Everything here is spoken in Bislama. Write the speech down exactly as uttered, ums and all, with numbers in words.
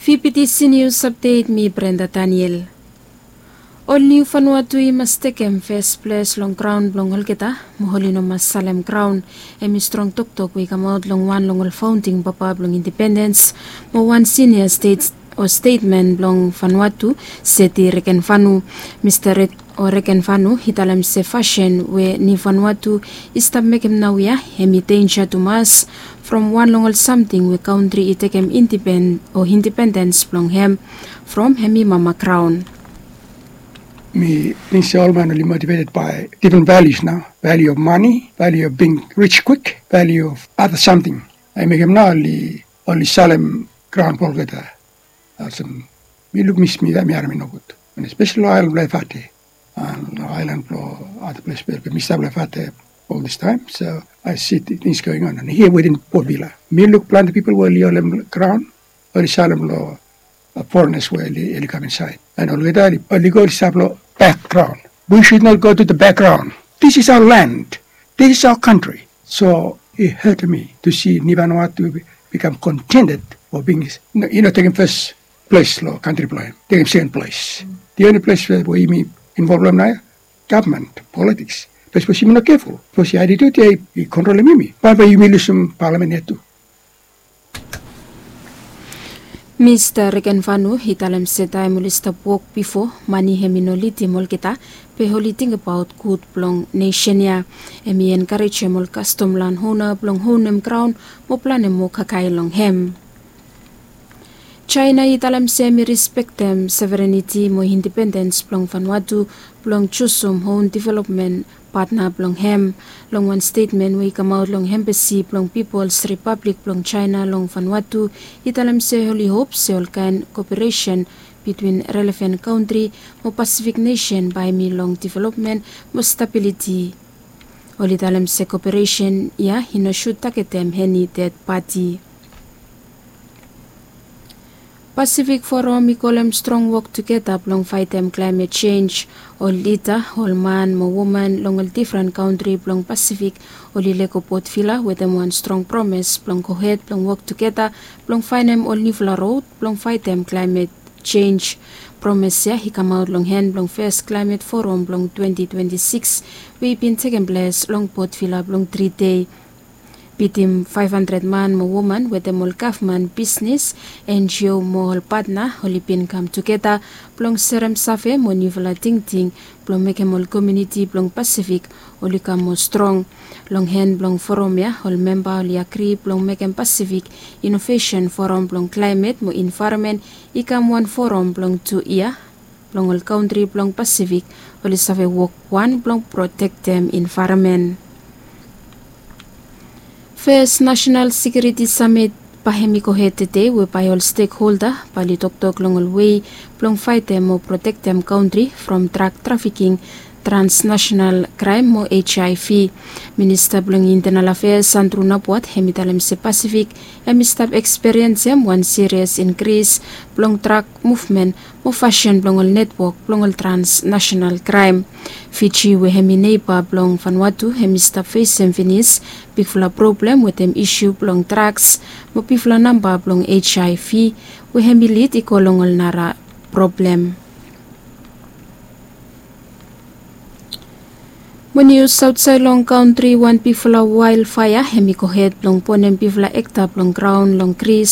Pipitisi nius apdet, mi Brenda Daniel. Ol niu Vanuatu i mas tekem fes ples long graon blong olgeta, mo oli no mas salem graon. Hem i strong toktok we i kamaot long wan long ol faonding papa blong indipendens, mo wan sinia stet o stetmen blong Vanuatu, Seti Rekenvanu. Mista Rekenvanu i talem se fasin we niu Vanuatu i stap mekem naoia, hem i denja tumas from wan long ol samting we kantri i tekem indipendens o indipendens blong hem from hem i mama graon. Mi ting se ol man oli motiveted bai difren valius nao, valiu of mani, valiu of bing rij kwik, valiu of ada samting. Hem i mekem nao oli salem graon blong olgeta. Olsem mi luk mi smit hem i harem i nogud. Espeseli long aelan blong Efate, long aelan blong ada ples we mi stap long Efate ol distaem. So ai si tings going on hia wetem Port Vila. Mi luk plante pipol we oli holem graon, oli salem long forenas we oli kam insaed. And olgeta oli go oli stap long bakgraon. We should not go to the background. This is our land. This is our country. So i hetem mi tu si niu Vanuatu bikam kontended o bing i no tekem fes ples long kantri blong hem, tekem seken ples. The only ples we yumi involv long hem nao ya gavman politiks. Be sapos yumi no keful, sapos i atitut ya i kontrolem yumi, bae bae yumi lusum palamen ya tu. Mista Rekenvanu i talem se taem oli stap wok bifo, mani hem i no lidim olgeta, be oli tingbaot gud blong nesen ya. Hem i enkarejem ol kastom lan ona blong onem graon mo planem moa kakae long hem. Jaena i talem se hem i rispektem severeniti mo indipendens blong Vanuatu blong jusum on developmen patna blong hem. Long wan stetmen we i kamaot long embasi blong Pipol Ripablik blong Jaena long Vanuatu, i talem se oli hop se olkaen koperesen bitwin relevan kantri mo Pasifik nesen bae hem i long developmen mo stabiliti. Oli talem se koperesen ya i no sut tagetem eni ded pati. Pasifik Foram i kolem strong wok tugeta blong faetem klaemet jenj. Ol lida, ol man mo woman long ol difren kantri blong Pasifik oli lego Port Vila wetem wan strong promes blong gohed blong wok tugeta blong faenem ol niufala rod blong faetem klaemet jenj. Promes ya i kamaot long hen blong fes klaemet foram blong twenti twenti sikis we i bin tekem ples long Port Vila blong tri dei. Bitim faef handred man mo woman wetem ol gavman, bisnes, N G O mo ol patna oli bin kam tugeta blong serem save mo niufala tingting blong mekem ol komuniti blong Pasifik oli kam moa strong. Long hen blong foram ya ol memba oli agri blong mekem Pasifik Inovesen Foram blong Klaemet mo Envaeronmen i kam wan foram blong tu yia blong ol kantri blong Pasifik oli save wok wan blong protektem envaeronmen. Fes Nasenal Sekiuriti Samit bae hem i gohed tede we bae ol stekholda bae oli toktok long ol wei blong faetem mo protektem kantri from drag trafiking, transnasenal kraem mo H I V. Minista blong Intenal Afeas Andru Napuat hem i talem se Pasifik hem i stap ekspiriensem wan sirias inkris blong drag muvmen mo fasin blong ol netwok blong ol transnasenal kraem. Fiji we hem i neiba blong Vanuatu hem i stap fesem finis bigfala problem wetem isu blong drags mo bigfala namba blong H I V we hem i lid i go long ol nara problem. Mo nius aotsaed long kantri, wan bigfala waelfaea hem i gohed blong bonem bigfala ekta blong graon long Gris